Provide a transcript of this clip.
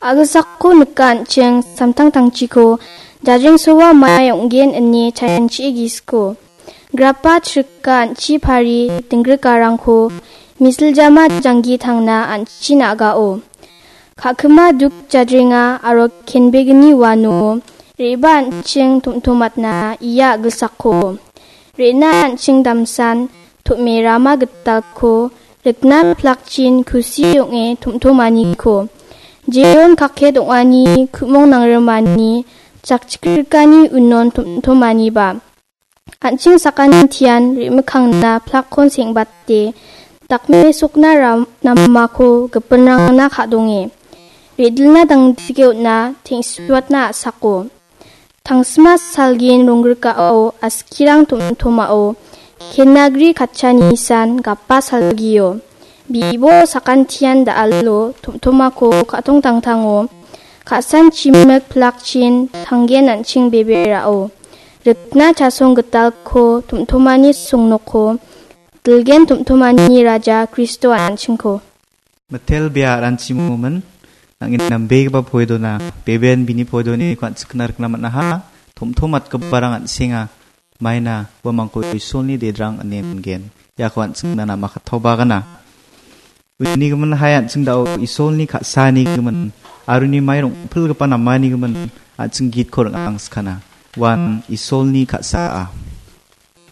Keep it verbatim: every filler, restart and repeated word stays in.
Agilsakko nika an·ching samtangtangchiko jajrengsoa mai ong·gen ine chaianchie gisiko. Grapa chrika an·chi pari dingrikarangko misiljama janggi tangna an·chi na·gao. Ka·kima duk jajrenga aro kenbegni uano re·baa an·ching tom·tomatna ia agilsakko. Re·na an·ching damsan tom·e rama gitalko rikna plakchin kusi ong·e tom·tomaniko. Jeon kaket ong·ani ku·mong nangrimani chakchikrikani unon tom·tomaniba. An·ching sakantian re·mikkangna plakkon seng·bate dakmesokna ram-, namako gipinrangna ka·donge. Re·dilna dangdike on·a teng·suatna a·sako. Tangsima salgin ronggrikao askirang tom·tomao kenagri katchanisan gapa salgio. Bibo sakantian da·alo tom·tomako ka·tongtangtango. Ka·san chimik plakchin tanggen an·ching beberao. Rikna chasong gitalko tom·tomani songnoko. Dilgen tom·tomani raja Kristo an·chingko. Mitel bia aranchimomin, nangin nambegipa poidona, beben bini poidoniko an·chingna rikna man·aha, tom·tomatgiparang an·senga, maina uamangko Isolni dedrang ine mingen, iako an·chingna namakattaoba gana. Unigimin hai an·ching dao Isolni ka·sanigimin, aro uni mai rong·pilgipa namanigimin, an·ching gitko ring·angskana. Uan Isolni ka·saa.